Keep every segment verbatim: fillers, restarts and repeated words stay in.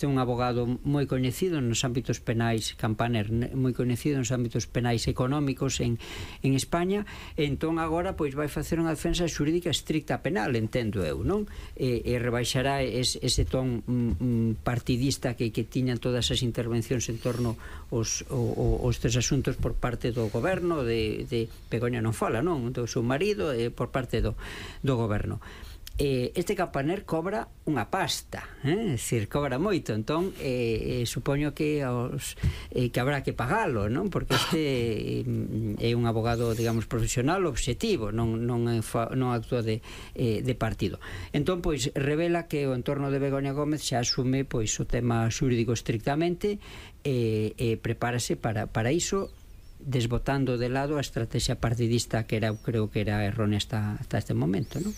este é un abogado moi coñecido nos ámbitos penais, Campaner, moi coñecido nos ámbitos penais económicos en, en España. Entón agora pois vai facer unha defensa xurídica estricta penal, entendo eu, non? E, e rebaixará es, ese ton mm, partidista que, que tiñan todas as intervencións en torno aos, os tres asuntos por parte do goberno de, de Begoña non fala, non? Do seu marido e por parte do, do goberno. Eh, este Campaner cobra unha pasta, eh? É dicir, cobra moito, entón eh, eh, supoño que os, eh, que habrá que pagalo, non? Porque este eh, é un abogado, digamos, profesional obxectivo, non, non, non actúa de, eh, de partido. Entón, pois, revela que o entorno de Begoña Gómez xa asume pois o tema xurídico estrictamente e eh, eh, prepárase para, para iso, desbotando de lado a estrategia partidista que era, creo que era errónea hasta, hasta este momento, non?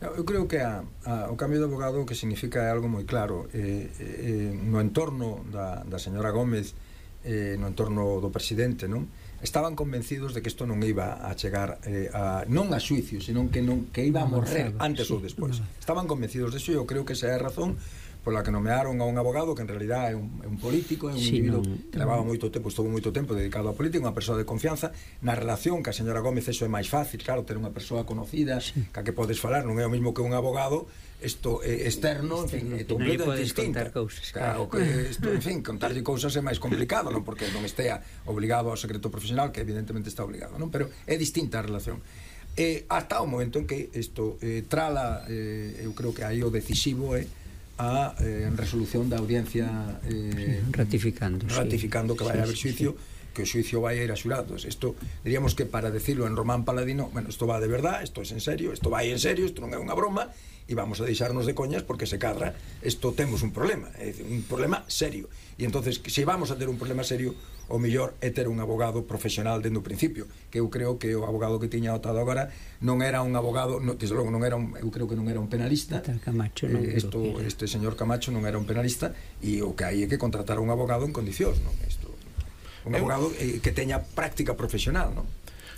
Eu creo que a, a, o cambio de abogado que significa é algo moi claro eh, eh, no entorno da, da señora Gómez, eh, no entorno do presidente, non? Estaban convencidos de que isto non iba a chegar eh, a, non a xuicio, senón que, non, que iba a morrer antes ou despois. Estaban convencidos de iso e eu creo que esa é a razón pola que nomearon a un abogado que en realidad é un, é un político, é un sí, individuo non, que levaba moito tempo, estuvo moito tempo dedicado á política, unha persoa de confianza. Na relación que a señora Gómez eso é máis fácil, claro, ter unha persoa conocida sí. que a que podes falar, non é o mismo que un abogado isto é externo, en fin, é completamente distinto. Claro, que isto, en fin, contarlle cousas é máis complicado, non porque non estea obligado ao secreto profesional, que evidentemente está obligado, non? Pero é distinta a relación. Eh, hasta o momento en que isto eh, trala, eh, eu creo que aí o decisivo é a eh, resolución da audiencia eh, ratificando ratificando sí. que vai sí, haber xuicio, sí. que o xuicio vai a ir a xurados. Isto, diríamos que para decirlo en Román Paladino, bueno, isto va de verdad, isto é en serio, isto vai en serio, isto non é unha broma, e vamos a deixarnos de coñas porque se cadra, isto temos un problema, é dicir, un problema serio. E entonces, se vamos a ter un problema serio, o mellor é ter un abogado profesional dende o principio, que eu creo que o abogado que tiña optado agora non era un abogado, no, desde logo non era un, eu creo que non era un penalista. Camacho, non eh, esto, este señor Camacho non era un penalista, e o que hai é que contratar un abogado en condicións, non? Isto, un abogado eh, que teña práctica profesional, non?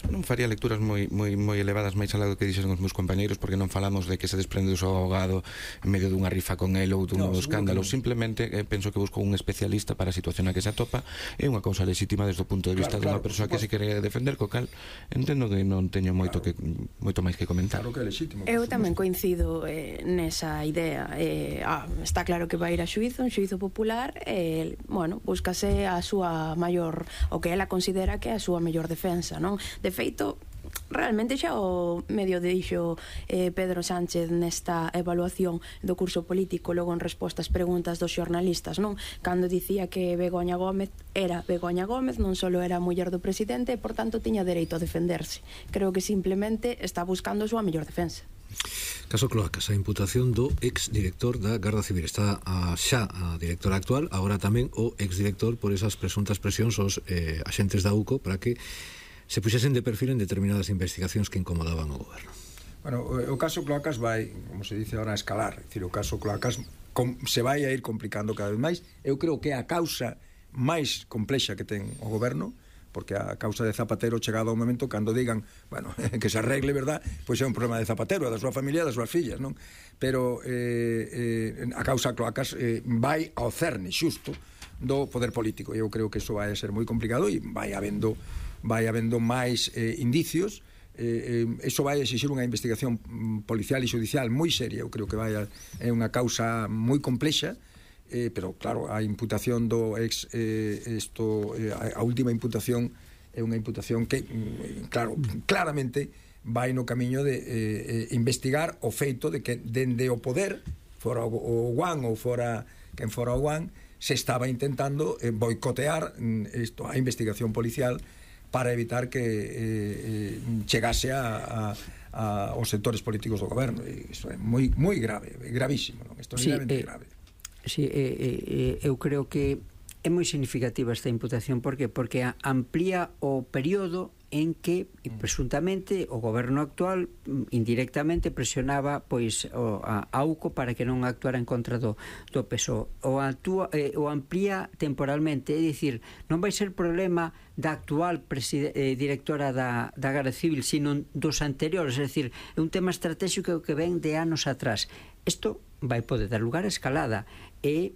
Non faría lecturas moi moi moi elevadas máis alá do que dixeron os meus compañeiros, porque non falamos de que se desprende do seu abogado en medio dunha rifa con el ou dun no, escándalo, no. Simplemente eh, penso que busco un especialista para a situación a que se atopa, é unha cousa legítima desde o punto de vista claro, dunha claro, persoa que se quere defender, co cal entendo que non teño moito claro. que moito máis que comentar. Claro que é legítimo. Eu tamén coincido eh, nesa idea. Eh, ah, está claro que vai ir a xuízo, un xuízo popular, e eh, bueno, búscase a súa maior, o que ela considera que é a súa mellor defensa, non? De feito, realmente xa o medio dixo eh, Pedro Sánchez nesta evaluación do curso político, logo en resposta ás preguntas dos xornalistas, non? Cando dicía que Begoña Gómez era Begoña Gómez, non só era a muller do presidente e, por tanto, tiña dereito a defenderse. Creo que simplemente está buscando a súa mellor defensa. Caso Cloacas, a imputación do ex-director da Garda Civil. Está a, xa a directora actual, agora tamén o ex-director por esas presuntas presións aos eh, axentes da U C O para que se puxesen de perfil en determinadas investigacións que incomodaban o goberno. Bueno, o, o caso Cloacas vai, como se dice ahora, a escalar. É dicir, o caso Cloacas com, se vai a ir complicando cada vez máis. Eu creo que é a causa máis complexa que ten o goberno, porque a causa de Zapatero chegado ao momento cando digan, bueno, que se arregle, verdad, pois é un problema de Zapatero, da súa familia, das súas fillas, non? Pero eh, eh, a causa Cloacas eh, vai ao cerne xusto do poder político, e eu creo que iso vai a ser moi complicado e vai habendo vai habendo máis eh, indicios. Eh, eh, eso vai a exixir unha investigación policial e judicial moi seria. Eu creo que vai a, é unha causa moi complexa, eh, pero claro, a imputación do ex eh, esto, eh, a, a última imputación é unha imputación que claro, claramente vai no camiño de eh, investigar o feito de que dende o poder, fora o, o Guan ou fora quen fora o Guan, se estaba intentando eh, boicotear isto, a investigación policial para evitar que eh, eh, chegase a, a, a os sectores políticos do goberno. E iso é moi moi grave, gravísimo, non? Isto é sí, realmente eh, grave. Sí, eh, eh, eu creo que é moi significativa esta imputación. Por que? Porque amplía o período en que presuntamente o goberno actual indirectamente presionaba pois o, a, a U C O para que non actuara en contra do, do P S O E. O, actúa, eh, o amplía temporalmente, é dicir, non vai ser problema da actual eh, directora da, da Garda Civil, sino dos anteriores, é dicir, é un tema estratégico que ven de anos atrás. Isto vai poder dar lugar a escalada e